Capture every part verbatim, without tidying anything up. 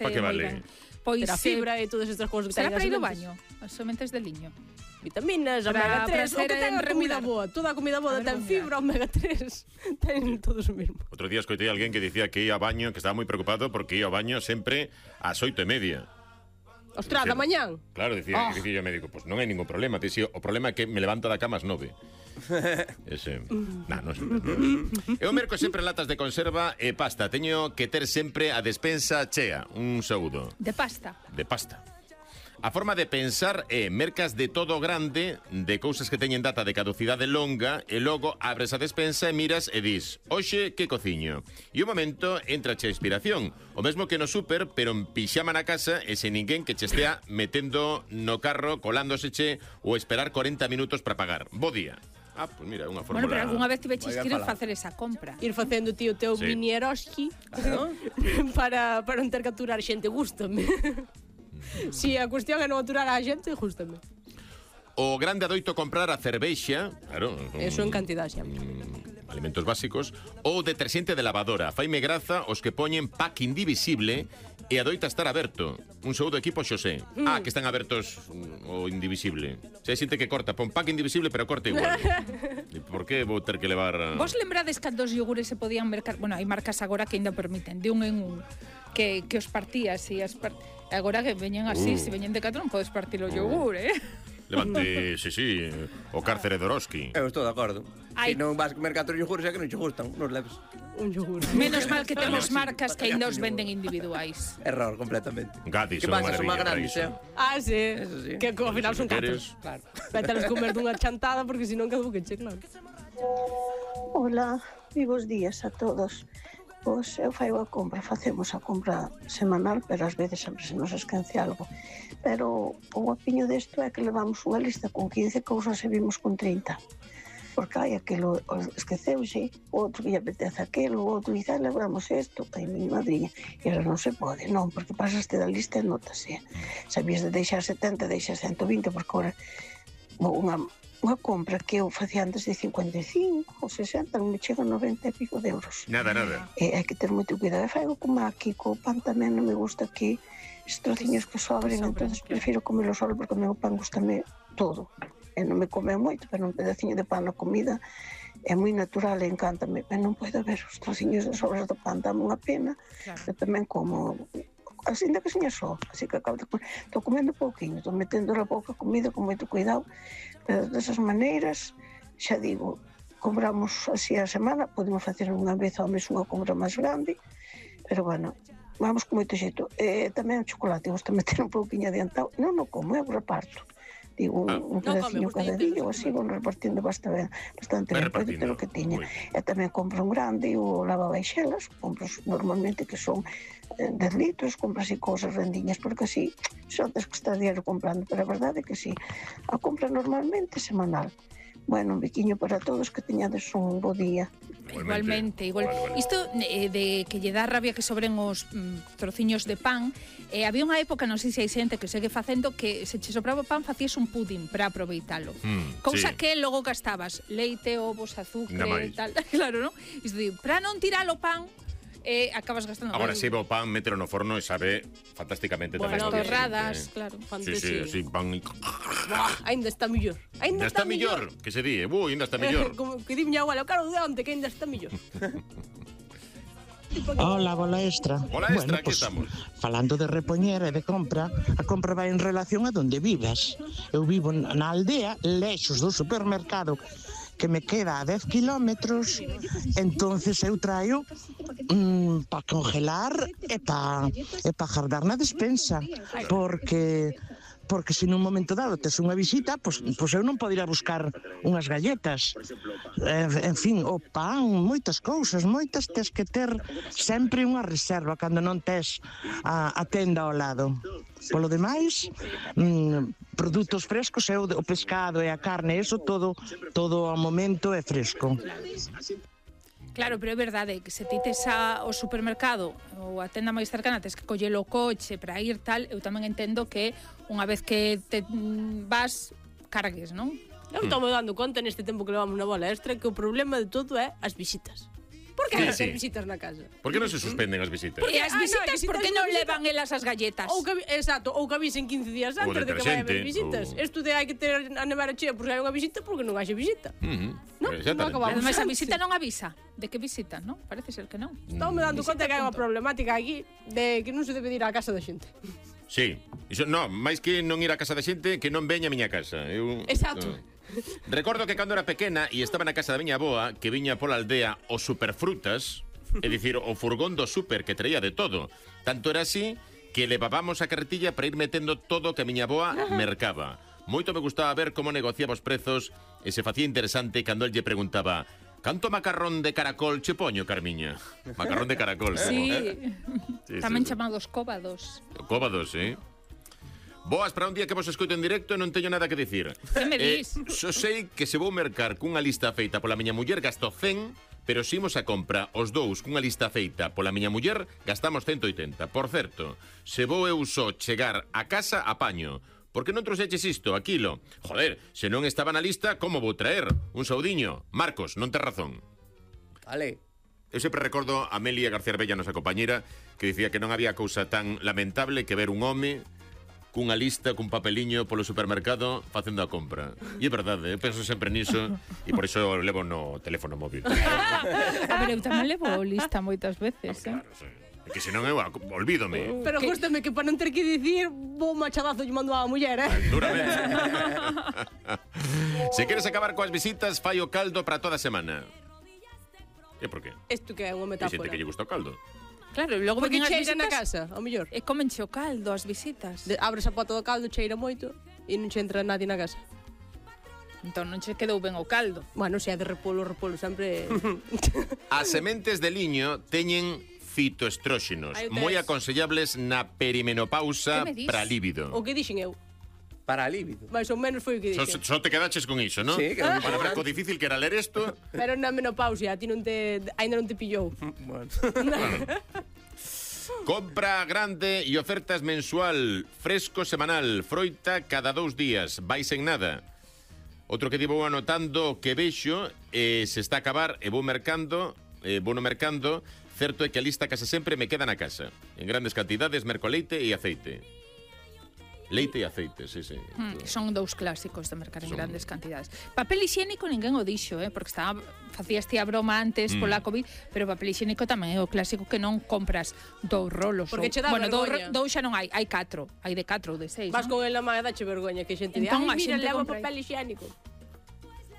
Pa que vale? Pois a fibra e todas estas cousas que será ten para as ir ao sementes. baño, as sementes de liño. Vitaminas, Para- omega tres, para o que ser ten a comida regular. boa. Toda a comida boa A ver, ten vou fibra, omega tres. Ten todos o mesmo. Outro día escoitei a alguén que dicía que ia ao baño, que estaba moi preocupado porque ia ao baño sempre ás oito e media. Ostras, da mañán. Claro, dicía, oh. dicía o médico, pues non hai ningún problema. Dicía, o problema é que me levanto da cama ás nove. Ese, nah, non sempre. Eu merco sempre latas de conserva e pasta. Teño que ter sempre a despensa chea. Un saúdo. De pasta. De pasta. A forma de pensar é mercas de todo grande, de cousas que teñen data de caducidade longa, e logo abres a despensa e miras e dis, hoxe que cociño? E un momento entra a inspiración, o mesmo que no súper, pero en pixama na casa e sen ninguén que che estea metendo no carro, colándose ou esperar corenta minutos para pagar. Bo día. Ah, pues mira, unha fórmula... Bueno, pero algunha vez tiveches Vaya que ir falado. facer esa compra. Ir facendo ti o teu Sí. mini Eroski, ¿no? para, para non ter que aturar xente, gústame. Si a cuestión é non aturar a xente, gústame. O grande adoito comprar a cervexa, claro, un, Eso en cantidad sempre. mm, alimentos básicos, ou deterxente de lavadora. Faime graza os que poñen pack indivisible e adoita estar aberto. Un saúdo equipo Xosé. Mm. Ah, que están abertos mm, o indivisible. Se hai xente que corta, pon pack indivisible, pero corta igual. E por que vou ter que levar... a- Vos lembrades cando os yogures se podían mercar, bueno, hai marcas agora que ainda permiten de un en un que, que os partías e as part... agora que veñen así, Uh. se veñen de catro non podes partir o yogur, eh? Levante, sí, sí, o cárcere de Oroski. Eu estou de acordo. Ai. Se non vas comer catro yogures é que non che gustan, nos leves. Un yogur. Menos mal que temos marcas que ainda os venden individuais. Error, completamente. Gadis, Que son pasa, son máis maravilla para grandes, iso. eh? Ah, sí. Eso sí. Que ao final Si son catro. queres. Claro. Vételas comer dunha chantada porque senón cadu que che, claro. Hola, e bos días a todos. Pois eu faigo a compra, facemos a compra semanal, pero ás veces sempre se nos esquece algo. Pero o guapiño desto é que levamos unha lista con quince cousas e vimos con trinta. Porque hai aquilo esqueceuse, outro que lle apetece aquilo, outro dice, ah, levamos isto, ai, mi madriña. E ahora non se pode, non, porque pasaste da lista e notase. Sabías de deixar setenta, deixas ciento vinte, porque ahora unha... unha compra que eu facía antes de cincuenta e cinco ou sesenta, non me chega a noventa e pico de euros. Nada, nada. E hai que ter moito cuidado. E faigo como aquí, co pan tamén non me gusta aquí estes trociños que sobren, entonces prefiro comelo solo porque o meu pan gustame todo. E non me come moito, pero un pedaciño de pan na comida é moi natural e encántame. Pero non podo ver os trociños de sobras do pan, dame unha pena. Claro. Eu tamén como así da que seña só, así que acabo de comer. Estou comendo pouquinho, estou metendo na boca comida con moito cuidado, pero desas maneiras, xa digo, compramos así a semana, podemos facer unha vez ao mes unha compra máis grande, pero bueno, vamos con moito xeito. E tamén o chocolate, gusta meter un pouquinho adiantado, non o como, eu reparto. Digo, un, un pedacinho cada día, ou así, vou repartindo bastante, bastante ben, pode ter o que tiña. E tamén compro un grande, o lavabaixelas, compro normalmente que son dez litros, compro así cousas rendiñas, porque así son das que está diario comprando, pero a verdade é que sí, a compra normalmente semanal. Bueno, un biquiño para todos, que teñades un bo día. Igualmente, igual. Isto eh, de que lle dá rabia que sobren os mm, trociños de pan, eh, había unha época, non sei se hai xente que segue facendo, que se che sobraba pan facías un pudín para aproveitalo. Mm, Cousa sí. que logo gastabas leite, ovos, Ainda azúcar, máis. tal, claro, non? Isto di, para non tirar o pan, eh, acabas gastando. Agora se o pan, mételo no forno e sabe fantásticamente Bueno, tamén. as torradas, claro. Sí, sí, así pan... Buah, ainda está millor. Ainda está millor, que se di, ui, ainda está millor. Como que di miña abuela, o caro de onte que ainda está millor. Hola, bola extra. Hola, extra, bueno, aquí pues, estamos. Falando de repoñer e de compra, a compra vai en relación a donde vivas. Eu vivo na aldea, lexos do supermercado, que me queda a dez kilómetros, entonces eu traio mm, para congelar e para e pa guardar na despensa, porque porque se nun momento dado tes unha visita, pois, pois eu non podo ir a buscar unhas galletas. En, en fin, o pan, moitas cousas, moitas tes que ter sempre unha reserva cando non tes a, a tenda ao lado. Polo demais, mm, produtos frescos, eu, o pescado e a carne, eso todo, todo ao momento é fresco. Claro, pero é verdade que se ti tes a, o supermercado ou a tenda máis cercana, tes que coller o coche para ir tal, eu tamén entendo que unha vez que te mm, vas, cargues, non? Eu estou me dando conta neste tempo que levamos na bola extra que o problema de todo é as visitas. Por que hai Sí, ter sí. visitas na casa? Por que non se suspenden as visitas? E as Ah, no, visitas, visitas por que non non visitas. levan elas as galletas? Ou que, exacto, ou que avisen quince días O antes de que vai haber deterxente, visitas. ou- Isto de hai que ter a nevera chea por se hai unha visita, porque non haxe visita. Uh -huh. No, Exactamente. non acabamos. Ademais, a Sí. visita non avisa. De que visita, non? Parece ser que non. Estamos me dando Visita, conta que hai unha punto. problemática aquí de que non se debe ir á casa da xente. Sí. Iso, no, máis que non ir á casa da xente, que non veña a miña casa. Eu, Exacto. Uh, recordo que cando era pequena e estaba na casa da miña aboa, que viña pola aldea os superfrutas, é dicir, o furgón do super que traía de todo. Tanto era así que levábamos a carretilla para ir metendo todo o que a miña aboa mercaba. Moito me gustaba ver como negociaba os prezos e se facía interesante cando el lle preguntaba: "Canto macarrón de caracol che poño, Carmiña?" Macarrón de caracol. Sí. Sí, Tamén sí, sí. chamados cóbados. Cóbados, eh? Boas para un día que vos escoito en directo e non teño nada que dicir. Que me Eh, dis? Só sei que se vou mercar cunha lista feita pola miña muller gasto cen, pero se imos a compra os dous cunha lista feita pola miña muller gastamos ciento oitenta. Por certo, se vou eu só chegar a casa apaño. Por que non trouxeches isto, aquilo? Joder, se non estaba na lista, como vou traer? Un saudiño. Marcos, non tes razón. Vale. Eu sempre recordo a Amelia García Arbella, nosa compañera, que dicía que non había cousa tan lamentable que ver un home cunha lista, cun papeliño polo supermercado facendo a compra. E é verdade, eu penso sempre niso e por iso levo no teléfono móvil. A ver, eu tamén levo lista moitas veces, eh? Claro, sí. É que senón eu ac- olvídome. Pero gústame que para non ter que dicir, vou machadazo lle mando á muller, eh? Duramente. Se queres acabar coas visitas, fai o caldo para toda a semana. E por qué? Isto que é unha Hai xente metáfora. que lle gusta o caldo. Claro, e logo Porque veñen as cheira na visitas casa, ao mellor. e comenche o caldo, as visitas. De, abres a pota do caldo, cheira moito e non che entra nadie na casa. Entón non che quedou ben o caldo. Bueno, se é de repolo, repolo sempre... As sementes de liño teñen fitoestróxenos, Aí o moi tes. aconsellables na perimenopausa Que me dis? para líbido. o que dixen eu. Para líbido. Mais ou menos foi o que Só, dixen. só te quedaches con iso, non? Sí, que era Para ver co difícil que era ler isto. Pero na menopausia, a ti non te... Ainda non te pillou. Bueno. Compra grande e ofertas mensual, fresco semanal, froita cada dous días, vais en nada. Outro que divo anotando que vexo, eh, se está a acabar e vou mercando, eh, vou no mercando, certo é que a lista case sempre me queda na casa. En grandes cantidades, merco leite e aceite. Leite e aceite, sí, sí. Mm, son dous clásicos de mercar en Son- grandes cantidades. Papel higiénico ninguén o dixo, eh, porque estaba facías ti a broma antes Mm. pola COVID, pero papel higiénico tamén é o clásico que non compras dous rolos. Porque ou- che dá bueno, dous, vergoña. ro- dous xa non hai, hai catro, hai de catro ou de seis, Vas non? con el na manga, dache vergoña que xente di, Entón, ai, a mira, xente levo compra aí. papel higiénico.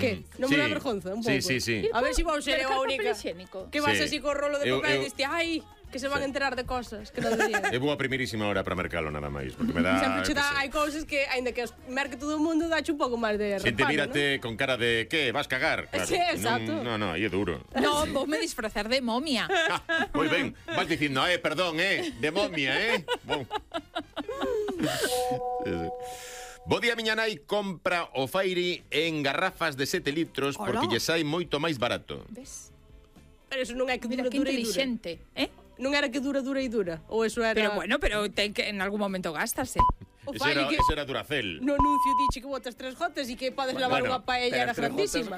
Que? Non Sí. me dá vergonza, un pouco. Sí, sí, sí. A ver se si vou ser eu a Mercar única. papel higiénico. Que vas Sí. así co rolo de Eu- papel eu- e diste, ai, que se van Sí. a enterar de cosas que non deberían. É boa primerísima hora para mercalo nada máis, porque me dá... Sempre che eu que dá, sei. hai cousas que, aínda que os merque todo o mundo, dache un pouco máis de Xente reparo, mírate con cara de que vas cagar, claro. Sí, exacto. Non, no, no, aí é duro. No, vou me disfrazar de momia. Ah, moi ben, vas dicindo, eh, perdón, eh, de momia, eh. Bon. Sí, sí. Bo día, miña nai compra o Fairy en garrafas de sete litros Ola. porque lle sai moito máis barato. Ves? Pero eso non é que Mira dura, que dura e dura. inteligente, eh? Non era que dura, dura e dura. Ou eso era... Pero bueno, pero ten que en algún momento gástase. O Ese fai era, que ese era Duracell. no anuncio diche que botas tres gotas e que podes lavar Bueno, unha paellera grandísima.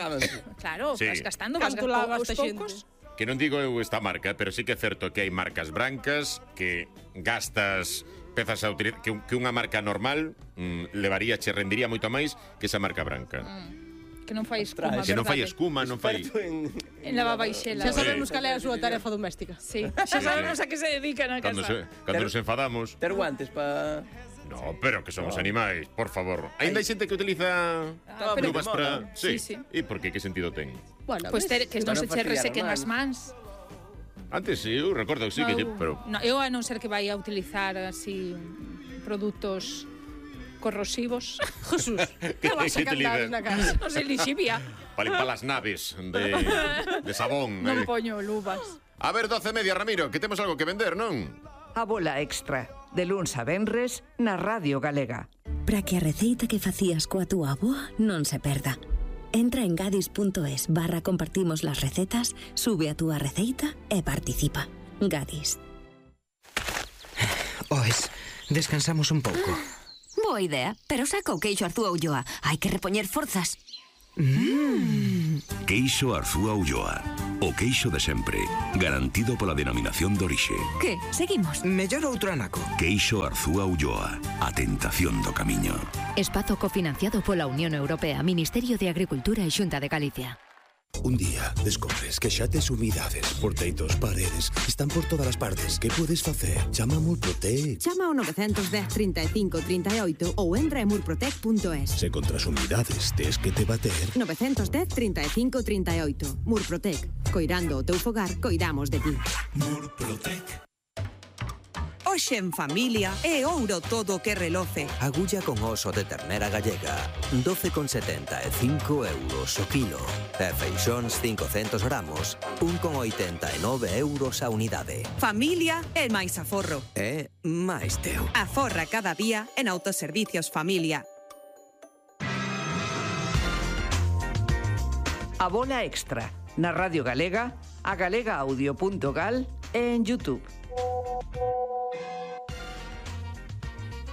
Claro, Sí. vas gastando, vas Canto gastando lava aos esta poucos. xente? Que non digo eu esta marca, pero sí que é certo que hai marcas brancas que gastas pezas a utilizar, que, un- que unha marca normal mm, levaría, che rendiría moito máis que esa marca branca. Que non fai escuma, Que non fai verdade? escuma, non fai... en... En lavabaixela. Xa sabemos cal é a súa tarefa doméstica. Sí, xa sabemos a que se dedica na Cando, casa. se, cando nos enfadamos... Ter guantes pa... No, pero que somos animais, por favor. Ainda hai xente que utiliza Ah, pero- luvas para... Sí, sí. E por que? Que sentido ten? Bueno, Pois ves? ter, que non Para se non che fastidiar resequen a as mans. Antes sí, eu recordo que sí, que... lle- Pero... No, eu a non ser que vai a utilizar así produtos corrosivos. Jesús, que Que- vas a que te cantar liga? na casa? Non sei, lixivia. Para limpar as naves de, de sabón. Non eh. poño luvas. A ver, doce e media, Ramiro, que temos algo que vender, non? A bola extra, de luns a venres, na Radio Galega. Para que a receita que facías coa túa avoa non se perda. Entra en gadis.es barra compartimos las recetas, sube a túa receita e participa. Gadis. Oes, descansamos un pouco. Boa idea, pero saca o queixo Arzúa Ulloa. Hai que repoñer forzas. Queixo Arzúa Ulloa. O queixo de sempre, garantido pola denominación de orixe. Que? Seguimos. Mellor outro anaco. Queixo Arzúa Ulloa, a tentación do camiño. Espazo cofinanciado pola Unión Europea, Ministerio de Agricultura e Xunta de Galicia. Un día descobres que xa tes humidades por teitos, paredes, están por todas as partes. Que podes facer? Chama a Murprotec. Chama ao nove dez, trinta e cinco, trinta e oito ou entra en murprotec punto es. Se contra as humidades tes que te bater. nove dez, trinta e cinco, trinta e oito. Murprotec. Coirando o teu fogar, coidamos de ti. Murprotec. Hoxe en familia é ouro todo o que reloce. Agulla con oso de ternera gallega, doce con setenta e cinco euros o kilo. E feixóns cincocentos gramos, un con oitenta e nove euros a unidade. Familia é máis aforro. É máis teu. Aforra cada día en Autoservicios Familia. A bola extra, na Radio Galega, a galega audio punto gal e en YouTube.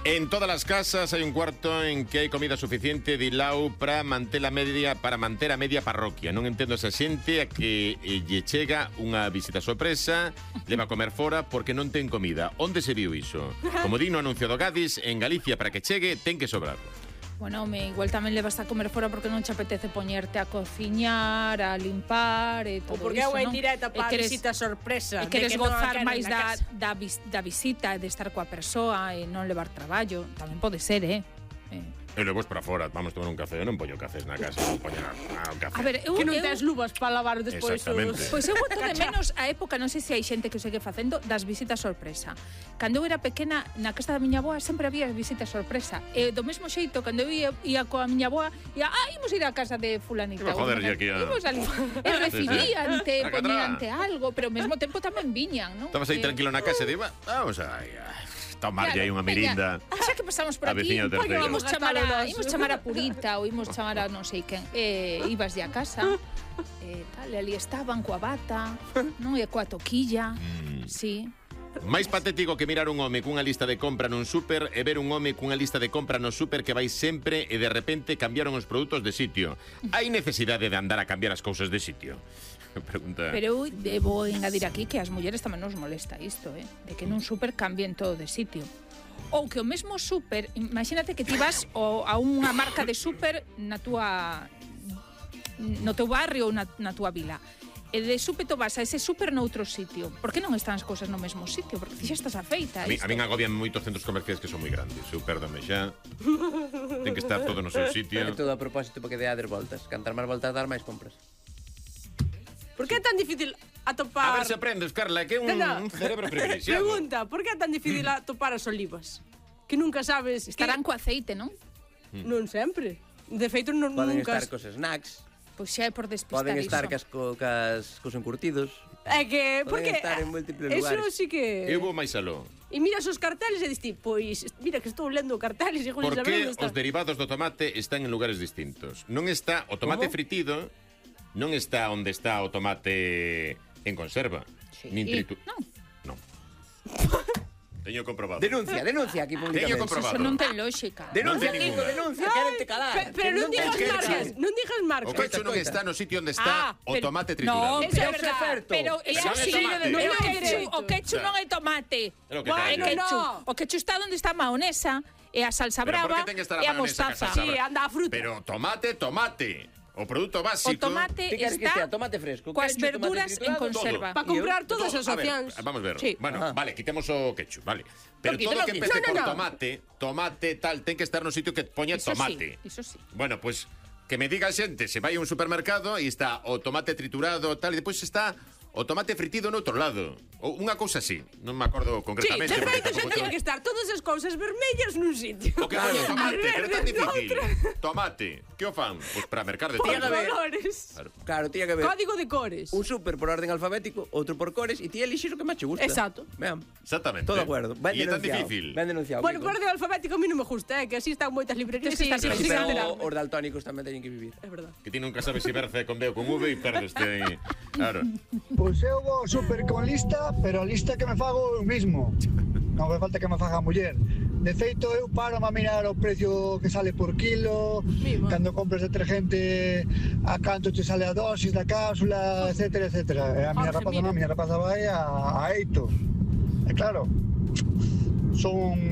En todas las casas hay un cuarto en que hai comida suficiente de Ilau para manter a media para manter a media parroquia. Non entendo esa xente a que eh, lle chega unha visita sorpresa, leva a comer fora porque non ten comida. Onde se viu iso? Como di no anuncio do Gadis, en Galicia para que chegue ten que sobrar. Bueno, me igual tamén levas a comer fora porque non che apetece poñerte a cociñar, a limpar e todo iso, non? Ou porque é unha indirecta para a queres, visita sorpresa. E queres que gozar non máis da, da, vis, da visita, de estar coa persoa e non levar traballo. Tamén pode ser, eh? eh. E logo para fora, vamos tomar un café. Eu non poño cafés na casa, non poño un café. A ver, eu, que non eu, tes luvas para lavar despois. Exactamente. Os... Pois eu boto de menos a época, non sei se hai xente que o segue facendo, das visitas sorpresa. Cando eu era pequena, na casa da miña avoa sempre había visitas sorpresa. E do mesmo xeito, cando eu ia, ia coa miña avoa, ia, ah, imos ir á casa de fulanita. Joder, ya aquí a... Imos ali. E recibíante, poñíante algo, pero ao mesmo tempo tamén viñan, non? Estabas aí eh, tranquilo na casa e diba, vamos aí, tomarlle aí unha mirinda. Xa que pasamos por A aquí, veciña terceira. imos chamar a, imos chamar a Purita ou imos chamar a non sei quen. Eh, ibas de a casa, eh, tal, e ali estaban coa bata, non? E coa toquilla, Mm. sí. Máis patético que mirar un home cunha lista de compra nun súper e ver un home cunha lista de compra no súper que vai sempre e de repente cambiaron os produtos de sitio. Hai necesidade de andar a cambiar as cousas de sitio? Pregunta. Pero eu debo engadir aquí que as mulleres tamén nos molesta isto, eh? De que nun súper cambien todo de sitio. Ou que o mesmo súper, imagínate que ti vas o, a unha marca de súper na túa no teu barrio ou na, na túa vila. E de súpeto vas a ese súper noutro sitio. Por que non están as cousas no mesmo sitio? Porque ti xa estás afeita. A mí, a min agobian moitos centros comerciais que son moi grandes. Eu pérdame xa. Ten que estar todo no seu sitio. É todo a propósito para que deades voltas. Cantar máis voltas, dar máis compras. Por que é tan difícil atopar... A ver se aprendes, Carla, que é un, no, no. un cerebro privilexiado. Pregunta, por que é tan difícil atopar as olivas? Que nunca sabes... Estarán que... co aceite, non? Mm. Non sempre. De feito, non, Poden nunca... estar cos snacks. Pois xa é por despistar Poden estar iso. cas, co, cas, cos encurtidos. É que... Poden Porque... estar en múltiples Eso lugares. sí que... Eu vou máis aló. E miras os carteles e diste, pois, mira que estou lendo carteles e Por saber que onde está. os derivados do tomate están en lugares distintos? Non está o tomate Como? fritido, non está onde está o tomate en conserva, Sí. nin tritu... Non. Non. Teño comprobado. Denuncia, denuncia aquí Teño públicamente. comprobado. Eso non ten lógica. Denuncia, Non ten Kiko, ninguna. denuncia, quérete calar. Pe- Pero non digas ten marcas, quechu. non digas marcas. O quechu non está no sitio onde está Ah, o pero- tomate No, triturado. eso é Eso verdad. é certo. Pero eso Pero sí, non é tomate. pero Non o é quechu, dereito. o quechu non é tomate. É lo que Guau, ten. é No, quechu. no. O quechu está onde está a maonesa e a salsa Pero por brava que ten que estar a e a mayonesa mostaza. que a salsa Sí, brava? anda a fruta. Pero tomate, tomate. O produto básico. O tomate Ti queres que está estea tomate fresco, coas quechu, tomate verduras en triturado, conserva. Para comprar Todo. todas as A ver, opcións. vamos a ver. Sí. Bueno, Ajá. vale, quitemos o ketchup, vale. Pero Lo quito, todo lo que quito. empece No, no, por no. tomate, tomate tal, ten que estar no sitio que poña Iso tomate. sí, iso sí. Bueno, pues que me diga a xente, se vai a un supermercado e está o tomate triturado tal, e depois está o tomate fritido no outro lado. Ou unha cousa así, non me acordo Sí, concretamente. de porque feito xa tampouco teñen tengo- que estar todas as cousas vermellas nun sitio. O que coño tomate, As pero é tan verdes difícil. noutra. Tomate, que o fan? Pois para mercar de Por todo. colores. Claro. Claro, tía que ver. Código de cores. Un súper por orden alfabético, outro por cores, e ti elixes o que máis che gusta. Exacto. Vean, Exactamente. todo de acuerdo. Ben E é tan denunciado. difícil. Ben denunciado. Bueno, Kiko. por orden alfabético a mí non me gusta, eh, que así están moitas librerías Sí, que están sí, sin sí, Pero enterar. os daltónicos tamén teñen que vivir. É verdad. Que ti nunca sabes se verse con B ou con V e perdeste aí. Claro. Pois eu vou super con lista, pero a lista que me fago eu mismo. Non fai falta que me faga a muller. De feito, eu paro a mirar o precio que sale por kilo, cando compras detergente a canto te sale a dosis da cápsula, etcétera, etcétera. E a miña rapaza non, a miña rapaza vai a, a eito. E claro, son